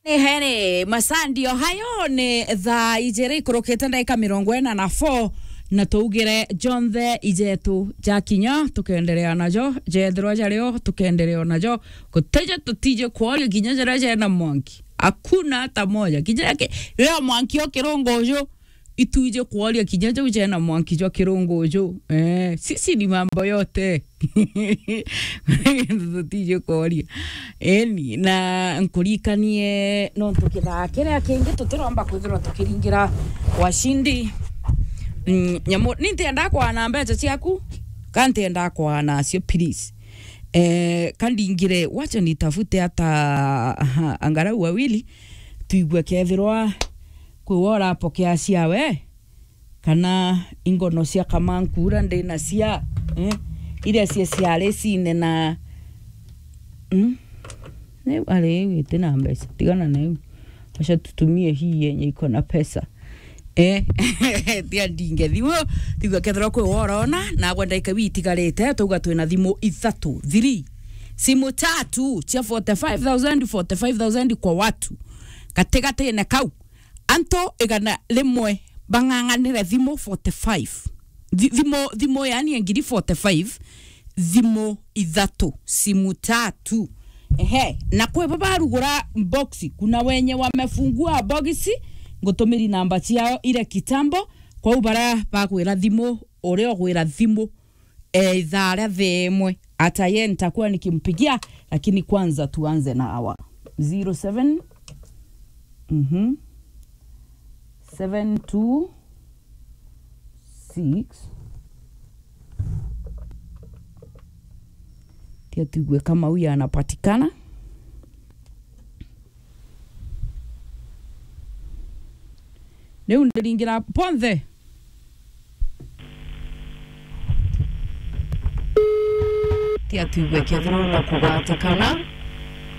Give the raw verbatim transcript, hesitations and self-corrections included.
Ni heri, masaa ndio hayo, ni thaa ijiri ikurukite ndagika mirongo ina na four, na tuugire jonthe ijetu jakinya, tukenderea najo, jethirwa jario, tukenderea najo. Gutije tutije kworia kinya jaria jena mwanki. Hakuna hata moja. Kinya ki-, riria mwanki o kirungu uju, itwije kworia kinya jau jena mwanki jwa kirungu uju. Eh, sisi ni mambo yote. Tutije kworia. Eni, na nkurikanie nontu kithaa kiria kingi tutiromba kwithirwa tukiringira washindi. Mm, nyamu, ni ntienda kwana mbeca ciaku, ka ntienda kwana cio, please. Eh, ka ndingire, wacha nitafute hata, aha, angalau wawili, tuigue kethirwa kwi wa urapokea ciawe, kana ingono cia kamankura ndi na cia, eh, iria cia, cia recine na, mm? Neu ari iu iti na mbeca, tigana na iu. Acha tutumie hii yenye iko na pesa. Eh, tia ndinge thimu, tigwa kethirwa kwi wa urona, na agwe ndaika iu itigarite, tuuga twina thimu ithatu, three. Simu tatu cia forty-five thousand, forty-five thousand kwa watu. Gatigatine kau, antu igana rimwe bang'ang'anire thimu forty-five. Thi-, thimu, thimu yani ya ngiri forty-five, thimu ithatu, simu tatu. Ehe, na kwi bo barugura box, kuna wenye wamefungua box, ngutumiri namba ciao ire kitambo, kwou baria bagwira thimu, uria ugwira thimu, eh, ithaa ria thaa imwe. Hata ye nitakuwa nikimpigia, lakini kwanza tuanze na hawa. Zero seven, mhm, seven two six. Tia tuigue kama huyu anapatikana. Riu ndiringira ponthe. Tia tuigue kethirwa na kugatikana.